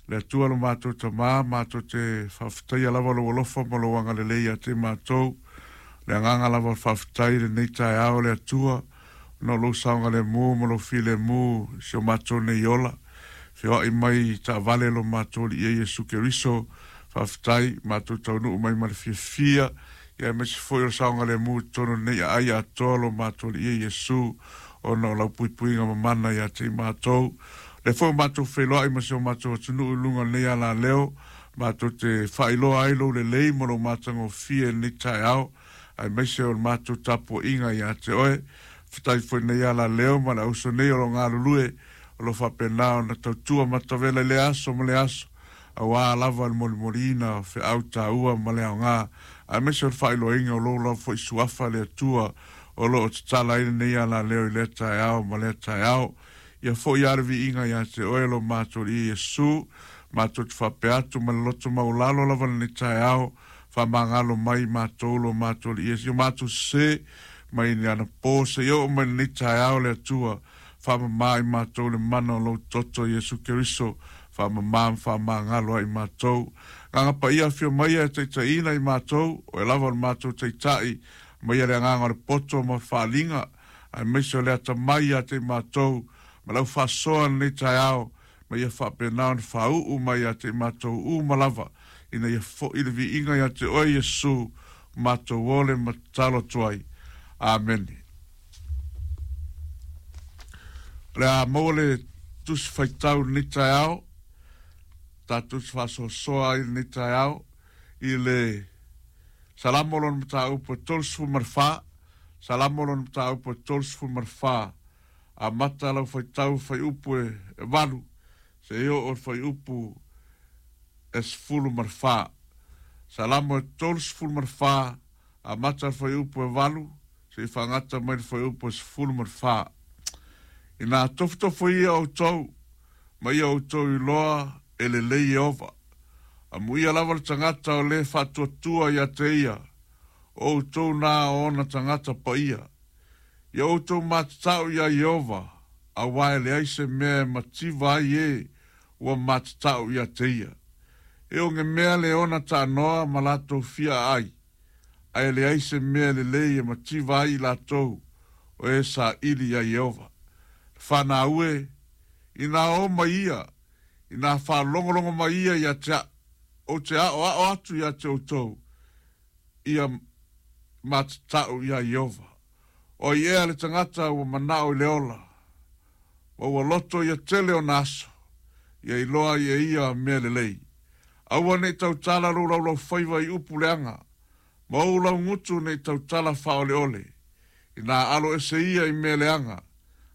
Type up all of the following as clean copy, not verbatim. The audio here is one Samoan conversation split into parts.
Le Atua lo matou Tama, matou te faafetaia lava lou alofa ma lou agalelei ia te matou. Le agaga lava o le faafetai i lenei taeao, le Atua, ona o lou saogalemu ma lou filemu i si o matou nei ola. Feoai mai i taavale lo matou Alii e Iesu Keriso. Faafetai, matou taunuu mai ma le fiafia, ia aemaise foi o le saogalemu i totonu o lenei aai atoa lo matou Alii e Iesu, ona o lau puipuiga mamana ia te i matou. O lea foi ua matou feiloai ma si o matou atunuu i luga o lenei alaleo, matou te faailoa ai lou lelei ma lou matagofie i lenei taeao, aemaise o le matou tapuaiga ia te oe. Faafetai foi i lenei alaleo ma le auso nei o lo o galulue, o lo o faapena ona tautua matavela i lea aso ma lea aso, aua lava le molimoliina o feau taua ma le aoga, aemaise o le faailoaina o lou lava foi suafa le Atua o lo o tatala ai lenei alaleo i lea taeao ma lea taeao. Ia foi lava le viiga ia te oe lo matou Alii Iesu, matou te faapea atu ma le loto maualalo lava lenei taeao, faamagalo mai matou lo matou Alii Iesu, i o matou sese mai le anapo seia oo mai lenei taeao le Atua, faamama i matou le mana o lou toto Iesu Keriso, faamama ma faamagalo ai matou. Agaga Paia afio maia e taitaiina i matou, oe lava o le matou Taitai, aumaia le agaga o le poto ma le faaaliga, aemaise o le atamai ia te i matou, ma lau faasoa i lenei taeao, ma ia faapena ona faauu mai ia te i matou uma lava, ina ia foi le viiga ia te oe Iesu, matou ole ma tatalo atu ai. Amene. O le a maua le tusi faitau i lenei taeao, tatou te faasoasoa ai i lenei taeao i le Salamo lona mataupu e 34, Salamo lona mataupu e 34, amata lau faitau fuaiupu e 8 seia oo i le fuaiupu e 14. Salamo e 34, amata le fuaiupu e 8 seia faagata mai le fuaiupu e 14. Inā tofotofo ia outou, ma ia outou iloa e lelei Ieova. Amuia lava le tagata o lē faatuatua ia te ia, o outou nā o ona tagata paia. Ia outou matatau iā Ieova, auā e leai se mea e mativa ai ē ua matatau ia te ia. E oge mea le ona taanoa ma latou fia aai, ae leai se mea lelei e mativa ai i latou o e saili iā Ieova. Le fanau e, inā o mai ia, inā faalogologo mai ia ia te aʻu, ou te aʻoaʻo atu ia te outou, ia matatau iā Ieova. O ai ea le tagata ua manao i le ola, ma ua loto ia tele ona aso, ia iloa ai e ia mea lelei. Aua ne i tautala lou laulaufaiva i upu leaga, ma ou laugutu ne i tautala faaoleole, inā alo ese ia i mea leaga,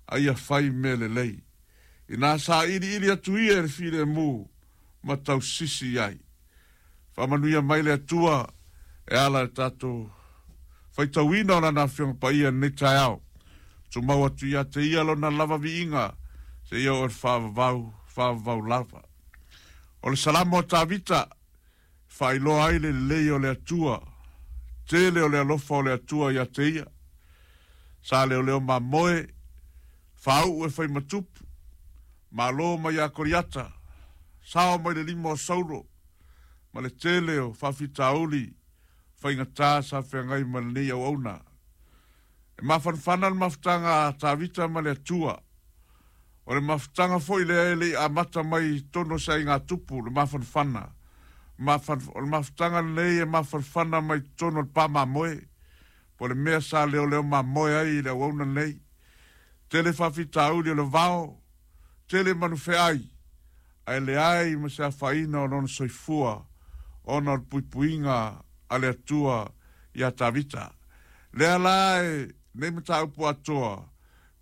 a ia fai mea lelei. Inā sailiili atu ia i le filemu, ma tausisi i ai. Faamanuia mai le Atua e ala i le tatou faitauina o Lana Afioga Paia i lenei taeao. Tumau atu ia te Ia Lona lava viiga seia oo i le faavavau, faavavau lava. O le Salamo a Tavita e faailoa ai le lelei o le Atua, tele o le alofa o le Atua ia te ia. Sa leoleo mamoe, faauu e fai ma tupu, Malo mai ia Koriata, sao mai le lima o Saulo, ma le tele o faafitauli faigata sa feagai ma lenei auauna. E mafanafana le mafutaga a Tavita ma le Atua. O le mafutaga foi lea e le i amata mai i totonu o se aiga tupu, le mafanafana. O le mafutaga lenei e mafanafana mai totonu o le pa mamoe, po o le mea sa leoleo mamoe ai i le auauna lenei. Tele faafitauli o le vao, tele manufeai, ae leai ma se afaina o lona soifua ona o le puipuiga a le Atua iā Tavita. Lea la e nei mataupu atoa,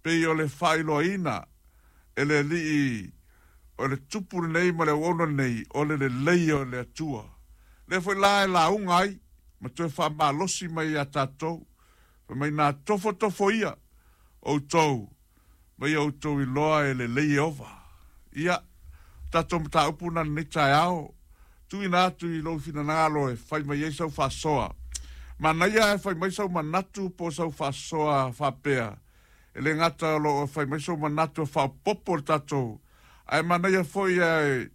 pei o le faailoaina e le Alii o le tupu lenei ma le auauna lenei o le lelei o le Atua. Lea foi la e lauga ai ma toe faamalosi mai iā tatou Fai mai, Na tofotofo ia outou ma ia outou iloa e lelei Ieova. Ia, o tatou mataupu na lenei taeao, tuuina atu i lou finagalo e fai mai ai sau faasoa. Manaia e fai mai sau manatu po o sau faasoa faapea, e le gata o lo o fai mai sou manatu e faaopoopo le tatou, ae manaia foi e